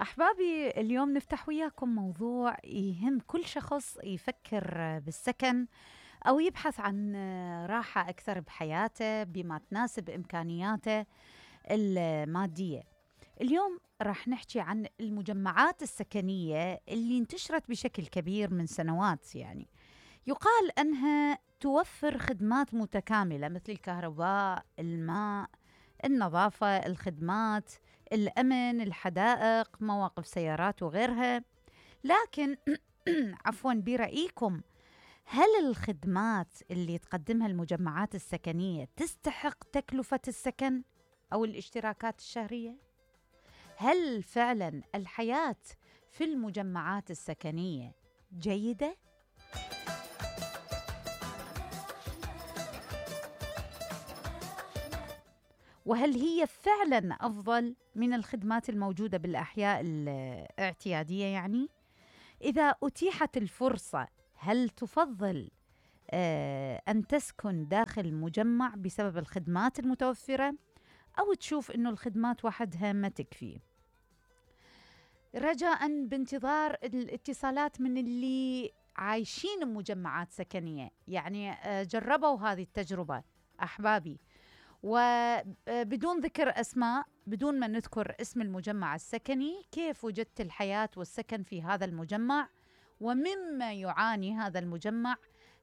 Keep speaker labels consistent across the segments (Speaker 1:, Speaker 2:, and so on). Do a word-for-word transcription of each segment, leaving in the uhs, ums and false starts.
Speaker 1: أحبابي، اليوم نفتح وياكم موضوع يهم كل شخص يفكر بالسكن أو يبحث عن راحة أكثر بحياته بما تناسب إمكانياته المادية. اليوم راح نحكي عن المجمعات السكنية اللي انتشرت بشكل كبير من سنوات. يعني يقال أنها توفر خدمات متكاملة مثل الكهرباء، الماء، النظافة، الخدمات، الأمن، الحدائق، مواقف سيارات وغيرها. لكن عفواً، برأيكم هل الخدمات اللي تقدمها المجمعات السكنية تستحق تكلفة السكن أو الاشتراكات الشهرية؟ هل فعلاً الحياة في المجمعات السكنية جيدة؟ وهل هي فعلاً أفضل من الخدمات الموجودة بالأحياء الاعتيادية؟ يعني إذا أتيحت الفرصة، هل تفضل آه أن تسكن داخل مجمع بسبب الخدمات المتوفرة، أو تشوف أنه الخدمات وحدها ما تكفي؟ رجاءً بانتظار الاتصالات من اللي عايشين بمجمعات سكنية، يعني آه جربوا هذه التجربة أحبابي، وبدون ذكر أسماء، بدون ما نذكر اسم المجمع السكني، كيف وجدت الحياة والسكن في هذا المجمع ومما يعاني هذا المجمع؟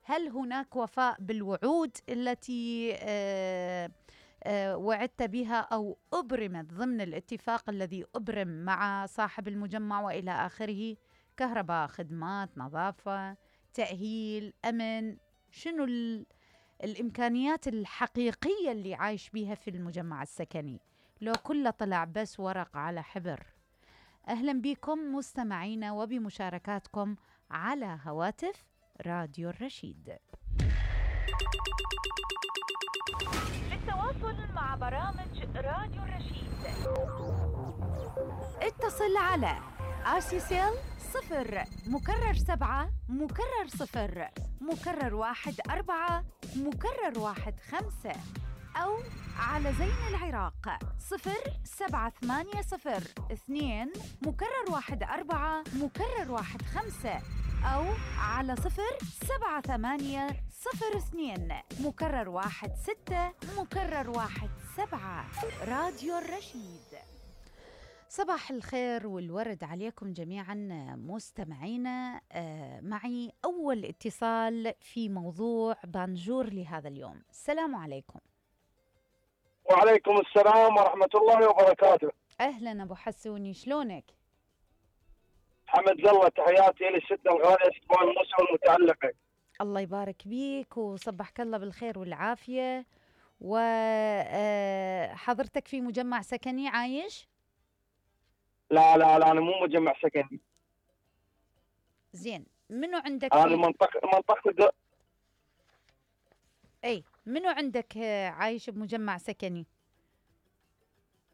Speaker 1: هل هناك وفاء بالوعود التي آه آه وعدت بها أو أبرمت ضمن الاتفاق الذي أبرم مع صاحب المجمع وإلى آخره؟ كهرباء، خدمات، نظافة، تأهيل، أمن، شنو ال الإمكانيات الحقيقية اللي عايش بيها في المجمع السكني؟ لو كله طلع بس ورق على حبر. أهلا بكم مستمعينا وبمشاركاتكم على هواتف راديو الرشيد. للتواصل مع برامج راديو الرشيد اتصل على آسيسيل صفر مكرر سبعة مكرر صفر مكرر واحد أربعة مكرر واحد خمسة، أو على زين العراق صفر سبعة ثمانية صفر اثنين مكرر واحد أربعة مكرر واحد خمسة، أو على صفر سبعة ثمانية صفر اثنين مكرر واحد ستة مكرر واحد سبعة. راديو الرشيد. صباح الخير والورد عليكم جميعا مستمعينا. آه معي أول اتصال في موضوع بانجور لهذا اليوم. السلام عليكم.
Speaker 2: وعليكم السلام ورحمة الله وبركاته.
Speaker 1: أهلا أبو حسوني، شلونك؟
Speaker 2: حمد الله، تحياتي للستة الغالية ستوان موسى والمتعلقة.
Speaker 1: الله يبارك بيك وصبحك الله بالخير والعافية. وحضرتك في مجمع سكني عايش؟
Speaker 2: لا لا لا، أنا مو مجمع سكني.
Speaker 1: زين، منو عندك؟
Speaker 2: أنا منطقة منطقة
Speaker 1: أي منو عندك عايش بمجمع سكني؟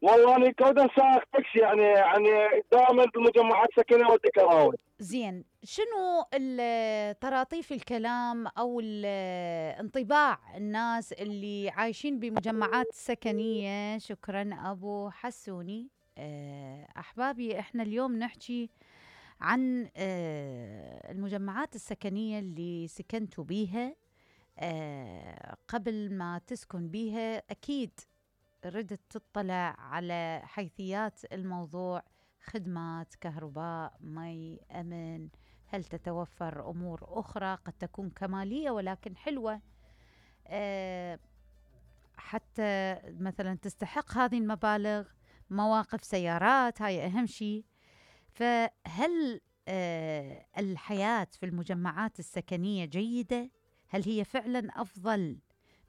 Speaker 2: والله أنا كودا سائق تاكسي، يعني يعني دائما بالمجمعات السكنية ودي كراوي.
Speaker 1: زين، شنو طراطيف الكلام أو انطباع الناس اللي عايشين بمجمعات سكنية؟ شكرا أبو حسوني. أحبابي، إحنا اليوم نحكي عن المجمعات السكنية اللي سكنتوا بيها. قبل ما تسكن بيها أكيد ردت تطلع على حيثيات الموضوع: خدمات، كهرباء، مي، أمن، هل تتوفر أمور أخرى قد تكون كمالية ولكن حلوة، أه حتى مثلا تستحق هذه المبالغ، مواقف سيارات، هاي أهم شيء. فهل أه الحياة في المجمعات السكنية جيدة؟ هل هي فعلا أفضل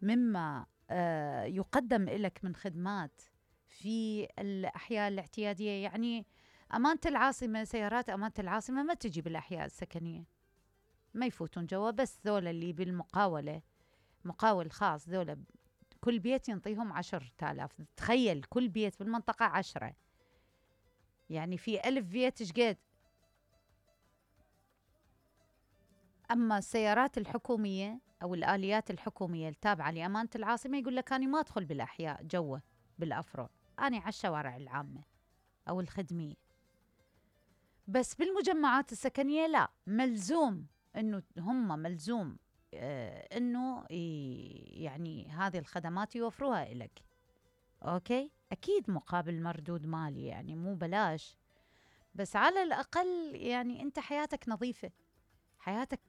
Speaker 1: مما أه يقدم لك من خدمات في الأحياء الاعتيادية؟ يعني أمانة العاصمة، سيارات أمانة العاصمة ما تجي بالأحياء السكنية، ما يفوتون جوا، بس ذولا اللي بالمقاولة، مقاول خاص، ذولا كل بيت ينطيهم عشر تالاف. تخيل كل بيت بالمنطقة عشرة، يعني في ألف بيت شقد. أما السيارات الحكومية أو الآليات الحكومية التابعة لأمانة العاصمة يقول لك أنا ما أدخل بالأحياء جوا بالأفرع، أنا على الشوارع العامة أو الخدمية. بس بالمجمعات السكنية لا، ملزوم إنه هم ملزوم آه إنه يعني هذه الخدمات يوفروها إلك. أوكي، أكيد مقابل مردود مالي، يعني مو بلاش، بس على الأقل يعني أنت حياتك نظيفة، حياتك.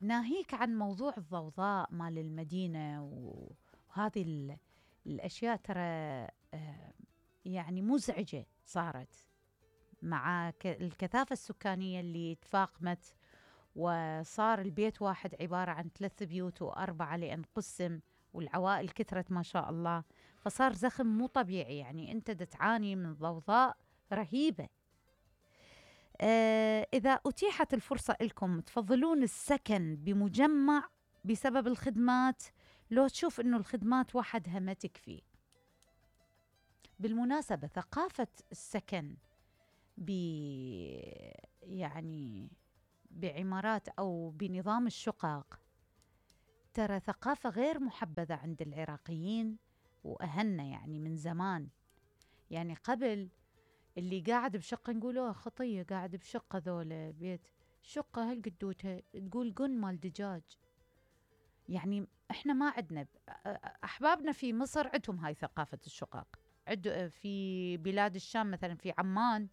Speaker 1: ناهيك عن موضوع الضوضاء مال المدينة وهذه الأشياء، ترى آه يعني مزعجة صارت مع الكثافة السكانية اللي تفاقمت، وصار البيت واحد عبارة عن ثلاث بيوت وأربعة لأن قسم، والعوائل كثرت ما شاء الله، فصار زخم مو طبيعي. يعني أنت تعاني من ضوضاء رهيبة. آه إذا أتيحت الفرصة لكم تفضلون السكن بمجمع بسبب الخدمات، لو تشوف إنه الخدمات وحدها ما تكفي؟ بالمناسبة ثقافة السكن ب يعني بعمارات أو بنظام الشقق ترى ثقافة غير محبذة عند العراقيين وأهلنا، يعني من زمان. يعني قبل اللي قاعد بشقة نقوله خطية قاعد بشقة، ذولا بيت شقة هالقدوتها تقول قن مال دجاج. يعني احنا ما عندنا، أحبابنا في مصر عندهم هاي ثقافة الشقق، عد في بلاد الشام مثلا في عمان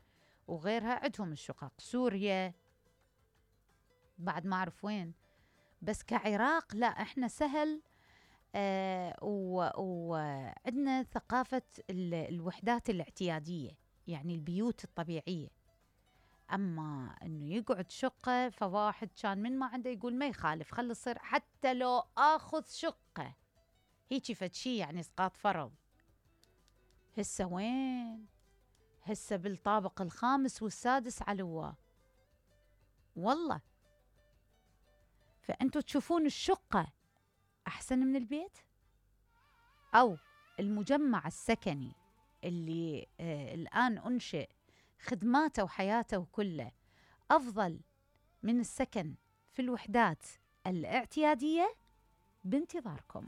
Speaker 1: وغيرها عندهم الشقق، سوريا بعد ما أعرف وين، بس كعراق لا، احنا سهل. آه وعندنا ثقافة الوحدات الاعتيادية، يعني البيوت الطبيعية. أما أنه يقعد شقة، فواحد كان من ما عنده يقول ما يخالف خلي يصير حتى لو آخذ شقة، هيجي فد شي يعني إسقاط فرض. هسه وين؟ هسه بالطابق الخامس والسادس علواه والله. فأنتوا تشوفون الشقة أحسن من البيت، أو المجمع السكني اللي آه الآن أنشئ خدماته وحياته كله أفضل من السكن في الوحدات الاعتيادية؟ بانتظاركم.